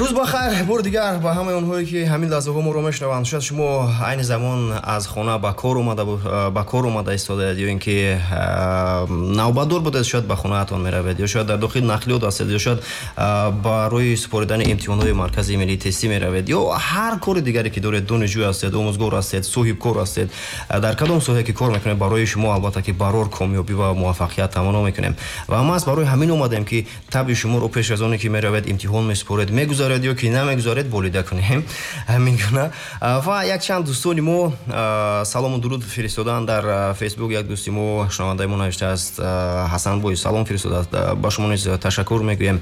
Рӯз ба хайр бори дигар ба ҳамаи онҳое, ки ҳамин лаҳзаҳо моро мешунаванд. Шояд шумо айни замон аз хона ба кор омада истодаед ё ин ки навбатдор будед, шояд ба хонаатон меравед, ё шояд дар дохили нақлиёт ҳастед, ё шояд барои супоридани имтиҳонҳои Маркази миллии тестӣ меравед, ё ҳар кори дигаре ки доред, донишҷӯ ҳастед, омӯзгор ҳастед, соҳибкор ҳастед, дар кадом соҳае ки кор мекунед, барои шумо албатта ки барор комёбӣ ва муваффақият таманно мекунем. Ва маҳз барои ҳамин омадем, ки табъи шуморо пеш аз оне ки меравед, имтиҳон месупоред, мегузаред ё ки намегузаред, болида кунем. Ҳамин гуна. Ва якчанд дӯстони мо салому дуруд фиристоданд дар Фейсбук. Як дӯсти мо, шунавандаи мо навиштааст, Ҳасанбой салом фиристодааст, ба шумо низ ташаккур мегӯем.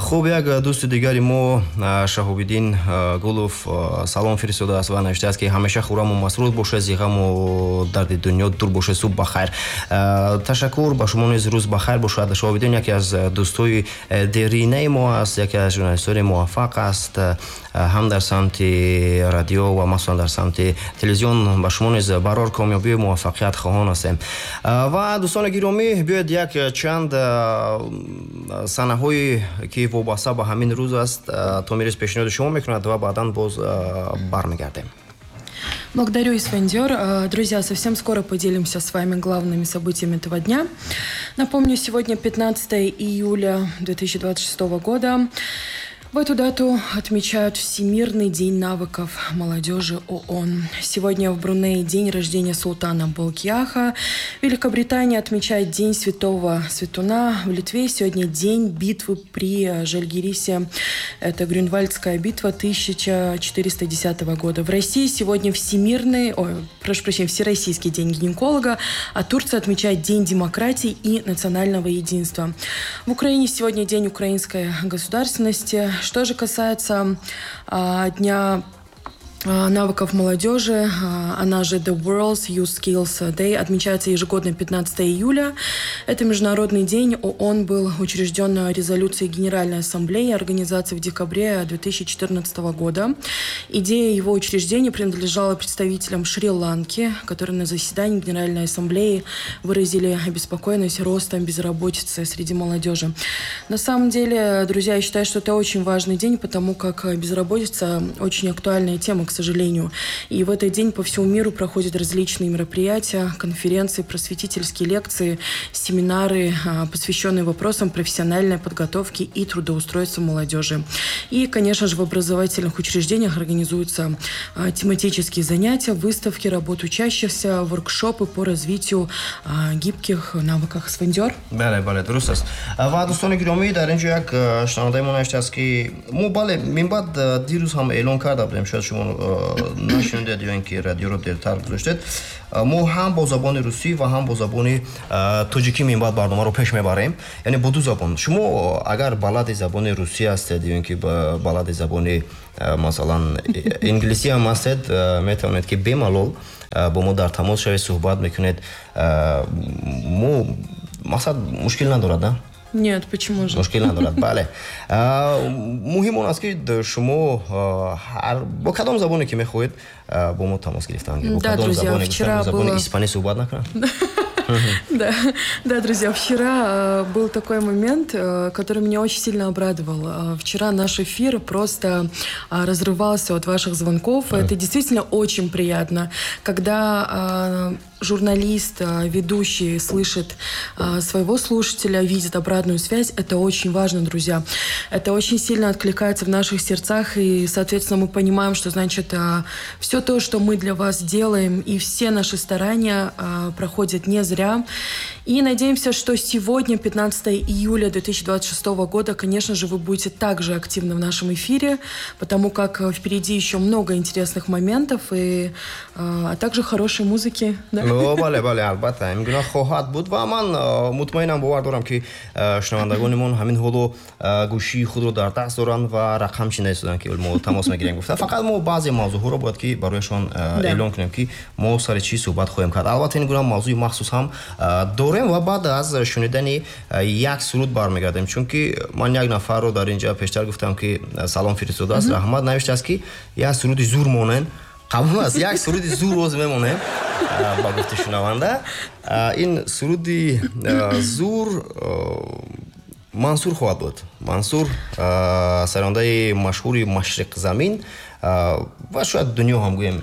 Хуб, як дӯсти дигари мо, Шаҳобиддин Гулов, салом фиристодааст ва навиштааст, ки ҳамеша хураму масрур бошед, зи ғаму дарди дунё дур бошед, субҳ ба хайр. Ташаккур, ба шумо низ рӯз ба хайр бошад. Шаҳобиддин яке аз дӯстои деринаи мо аст, яке аз журналистони муваффақ аст ҳам дар самти радио ва махсусан дар самти телевизион. Ба шумо низ барор комёбию муваффақият хоҳон ҳастем. Ва дӯстони гиромӣ, биёед як чанд санаҳое ки вобаста ба ҳамин рӯз аст, Томирис пешниҳоди шумо мекунад ва баъдан боз бармегардем. Благодарю, Исфандиор. Друзья, совсем скоро поделимся с вами главными событиями этого дня. Напомню, сегодня 15 июля 2026 года. В эту дату отмечают Всемирный день навыков молодежи ООН. Сегодня в Брунее день рождения султана Болкиаха. Великобритания отмечает День Святого Светуна. В Литве сегодня день битвы при Жальгирисе. Это Грюнвальдская битва 1410 года. В России сегодня Всемирный, ой, прошу прощения, Всероссийский день гинеколога, а Турция отмечает День демократии и национального единства. В Украине сегодня День украинской государственности. Что же касается Дня навыков молодежи, она же The World's Youth Skills Day, отмечается ежегодно 15 июля. Это международный день. ООН был учрежден резолюцией Генеральной Ассамблеи Организации в декабре 2014 года. Идея его учреждения принадлежала представителям Шри-Ланки, которые на заседании Генеральной Ассамблеи выразили обеспокоенность ростом безработицы среди молодежи. На самом деле, друзья, я считаю, что это очень важный день, потому как безработица очень актуальная тема, к сожалению. И в этот день по всему миру проходят различные мероприятия, конференции, просветительские лекции, семинары, посвященные вопросам профессиональной подготовки и трудоустройства молодежи. И, конечно же, в образовательных учреждениях организуются тематические занятия, выставки, работы учащихся, воркшопы по развитию гибких навыков. Исфандиор. Бале, бале, дуруст аст. Ва дӯстони гиромӣ, дар ин ҷо як шунавандаи мо навиштааст, ки мо, бале, минбаъд, дирӯз ҳам эълон карда будем, шояд шумо нашунидед ё ин ки радиоро дертар гузоштед, мо ҳам бо забони русӣ ва ҳам бо забони тоҷикӣ минбаъд барномаро пеш мебарем, яъне бо ду забон. Шумо агар балади забони русӣ ҳастед ё ин ки балади забони, масалан, инглисӣ ҳам ҳастед, метавонед, ки бемалол бо мо дар тамос шавед, суҳбат мекунед. Мо мақсад мушкил надорад, да? Нет, почему же? Мушкил надорад, бале. Муҳим он аст, ки шумо ҳар бо кадом забоне ки мехоҳед бо мо тамос гирифтан. Да, друзья, вчера забони испанӣ суҳбат накунад. Да, друзья, вчера был такой момент, который меня очень сильно обрадовал. Вчера наш эфир просто разрывался от ваших звонков. Это действительно очень приятно, когда журналист, ведущий слышит своего слушателя, видит обратную связь. Это очень важно, друзья. Это очень сильно откликается в наших сердцах, и, соответственно, мы понимаем, что, значит, все то, что мы для вас делаем, и все наши старания проходят не зря. И надеемся, что сегодня, 15 июля 2026 года, конечно же, вы будете также активны в нашем эфире, потому как впереди еще много интересных моментов, а также хорошей музыки. Да? Бале, бале, албатта, ин гуна хоҳад буд ва ман мутмаинам, бовар дорам, ки шунавандагонимон ҳамин ҳоло гӯшии худро дар даст доранд ва рақам чинда истоданд, ки мо тамос мегирем гуфта. Фақат мо баъзе мавзӯъҳоро бояд ки барояшон эълон кунем, ки мо сари чӣ суҳбат хоҳем кард. Албатта, ин гуна мавзӯи махсус ҳам дорем ва баъд аз шунидани як суруд бармегардем, чунки ман як нафарро дар инҷа пештар гуфтам, ки салом фиристодааст, раҳмат, навиштааст, ки як суруди зур монен. Қабул аст, як суруди зур роз мемонем ба гуфти шунаванда. Ин суруди зур. Мансур хоҳад буд. Мансур, сарондаи машҳури Машриқзамин ва шояд дунё ҳам гӯем.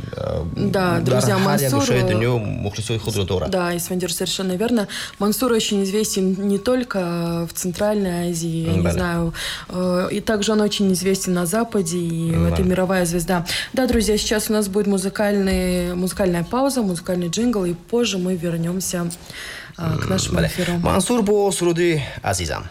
Да, друзья, Мансур. Гӯшаи дунё мухлисои худро дорад. Да, Исфандиёр, совершенно верно. Мансур очень известен не только в Центральной Азии, я не знаю, и также он очень известен на Западе, и это мировая звезда. Да, друзья, сейчас у нас будет музыкальная пауза, музыкальный джингл, и позже мы вернемся к нашему эфиру. Мансур бо суруди «Азизам».